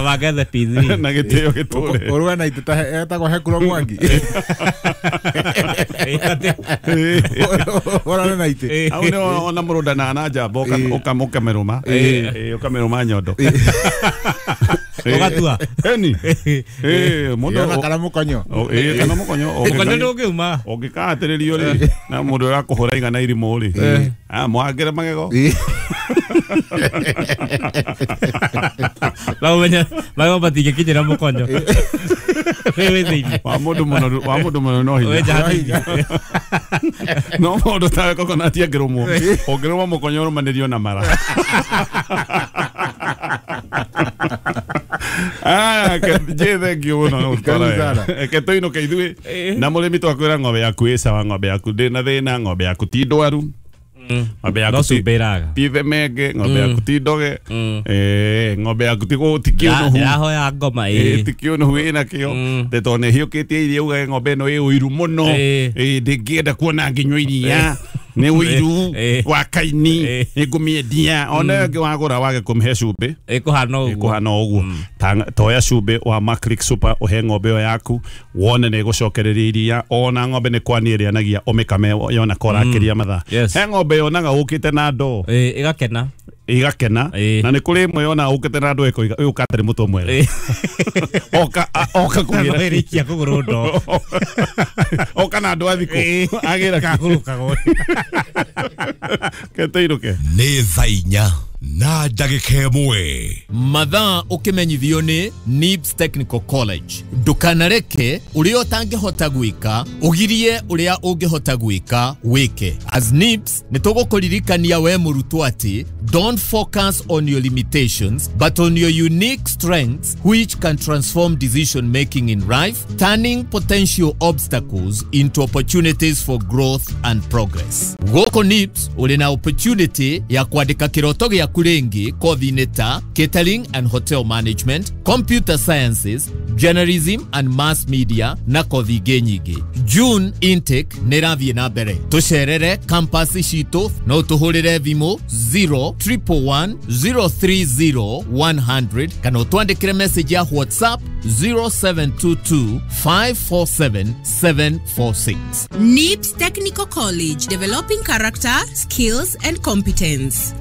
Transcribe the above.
Kaba ngethe P3 na gĩtĩo gĩtũre. Ũruga na itĩ ta etagwo Hekuro Mwangi. Ũrane na itĩ. Hau nĩ ona mũrũndana na njamba ũkamĩrũma. Ũkamĩrũma nyondo. Ũgatua. Eni. Mũndũ Ona kana mũkonyo. Kana mũkonyo. Mũkonyo ndũngĩuma. Ũngĩkahatĩrĩrio rĩ na mũndũ ũrakũhũra igana irimũ rĩ. Mwangĩre magego. Na ũmenye magego matingĩkinyĩra mũkonyo. Wĩ thĩinĩ. Wa mũndũ mũno no hinya. No mũndũ tawe kokonati angĩrũmwo. Ũngĩrũmwo mũkonyo ũrũmanĩrio na mara. Je thank you mũno Reke tũinũke ithuĩ na mũrĩmi twakwĩra ng'ombe yaku ĩ sawa, ng'ombe yaku ndĩ na thĩna, ng'ombe yaku ti ndwaru, ng'ombe yaku ti themenge, ng'ombe yaku ti ndoge, ng'ombe yaku ti kĩũnũhu. Ndĩrahoya ngoma ti kĩũnũhu ĩna kĩo tondũ nĩ ĩhiũkĩtie iria ugage ng'ombe ĩno ĩ ũiru mũno, ndĩngĩenda kuona ngĩnyua iria nĩ ũiru wa kaini nĩngũmĩendia. Ona ĩngĩ wagũra wage kũmĩhe cumbĩ ĩkũhana ũguo. Toya cumbĩ wa Maclick Super ũhe ng'ombe ĩyo yaku wone nĩ ĩgũcokereria iria. Ona ng'ombe nĩ kwania ĩrĩanagia ũmĩkame yona korakĩria mathaa. He ng'ombe yonaga ũkĩte na ndoo ĩgakena igakena, na nĩ kũrĩ ĩmwe yonaga ũkĩte na ndoo ĩkoiga ũyũ katarĩ mũtwe mwega. Oka kũgĩra ĩrĩkia kũgũrwo ndoo. Oka na andũ a thikũ agĩra kagũrũkagwo. Ketũinũke. Nĩ thaa inya na ndagĩka ĩmwe. Mathaa ũkĩmenyithio nĩ NIBS Technical College. Ndũkanareke ũrĩa ũtangĩhota gwĩka ũgirie ũrĩa ũngĩhota gwĩka wĩke. As NIBS nĩ tũgũkũririkania we mũrutwo atĩ don't focus on your limitations but on your unique strengths which can transform decision making in life, turning potential obstacles into opportunities for growth and progress. Gũkũ NIBS ũrĩ na opportunity ya kwandĩka kĩroto gĩaku rĩngĩ kothi-inĩ ta catering and hotel management, computer sciences, journalism and mass media na kothi ingĩ nyingĩ. June intake nĩ ĩrathiĩ na mbere. Tũcerere campus citũ no tũhũrĩre thimũ 0 111 030 100 kana ũtwandĩkĩre message ya WhatsApp 0722 547 746. NIBS Technical College, developing character, skills and competence.